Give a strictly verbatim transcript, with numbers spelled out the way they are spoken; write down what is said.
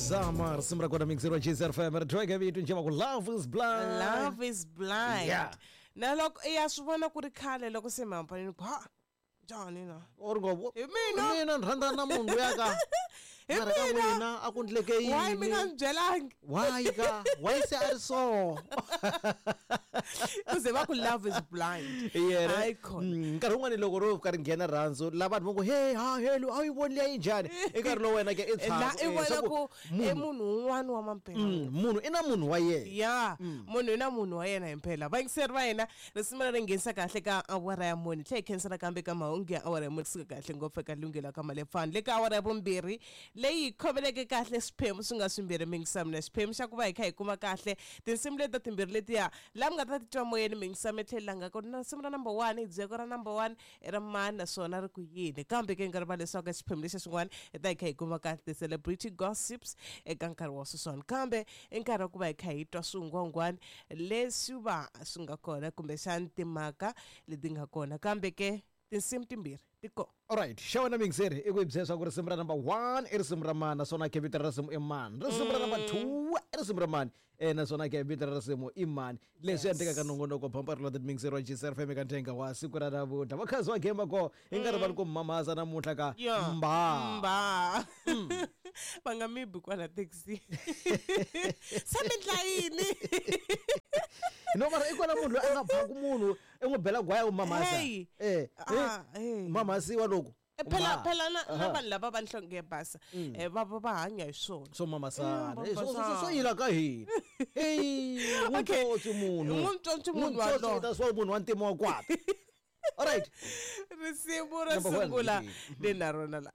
Zama risimu ra kona mixero G F M ri tweke vito njhe va ku love is blind. Love is blind. Yeah. Na loko ya swi vona ku ri khale loko se mi hambanile ku ha njhani na or ngo Hi mina. mina ni rhandza na munhu luya ka Hi mara ka mina. n'wina a ku ndleke yini why mi nga ni byelangi why ka why se a ri so ku ze va ku love is blind yena Hayi khona Mm, nkarhi wun'wani loko ro ka ri nghena rhandzu la vanhu va ngo hey ha helo a yi voni liya yi njhani i nkarhi lowu wena ke i la tshama i eh, vona swa ku i munhu un'wana wa mampela Mm, munhu i na munhu wa yena ya munhu i na munhu wa yena himpela vayingiseri va hina risimu leri nghenisa kahle ka awara ya mune tlhe hi khensa nakambe ka mahungu ya awara ya mune kusuka kahle ngopfu eka lunghelo ka malepfani le ka awara ya vumbirhi leyi hi khomeleke kahle swiphemu swi nga swimbirhi mingisami na xiphemu xa ku va hi kha hi kuma kahle tinsimu leti ta timbirhi letiya laha mi nga ta titwa moyeni mingisami tlhela langa ku na risimu ra number one hi byeko ra number one i ra mani naswona ri ku yini kambe ke nga rivala leswaku xiphemu lexi xin'wana hi ta hi kha hi kuma kahle ti-celebrity gossips eka nkarhi wa sweswiwani kambe i nkarhi wa ku va hi kha hi twa swingwangwani leswi va swi nga kona kumbexani timhaka leti nga kona kambe ke tinsimu timbirhi ti kona alright xa wena mingiseri i ku hi byela swa ku risimu ra number one i risimu ra mani naswona ke vito ra risimu i mani risimu ra number two i risimu ra mani eh naswona ke vito ra risimu i mani leswi Yes. endlekaka nongonoko phampa ri mingiseri wa G C F M eka nthenga wa siku ra namuntlha vakhazi wa gemba ko i nkarhi va ri ku mamaza namuntlha ka Ya. mba mba va nga mi bi kwala taxi se mi ndla yini no mara i kona munhu loyi a nga phaku munhu i n'wi bela gwaya u mamasa Hey. eh Ah, eh, hey. mamasiwa loko Eh, phela Mba. phela na na Aha. vanhu lava va nhlonge yo basa eh, va va va hanya hi swona swo mamasana Mm, Eh, swo- swo- mamasana. swo yila ka hina eyi n'wi Okay. ntsotsi munhu N'wi ntsotsi munhu N'wi ntsotsi walowo. ta swa munhu wa ntima wa kwata alright risimu ro Number one. sungula ni na rona la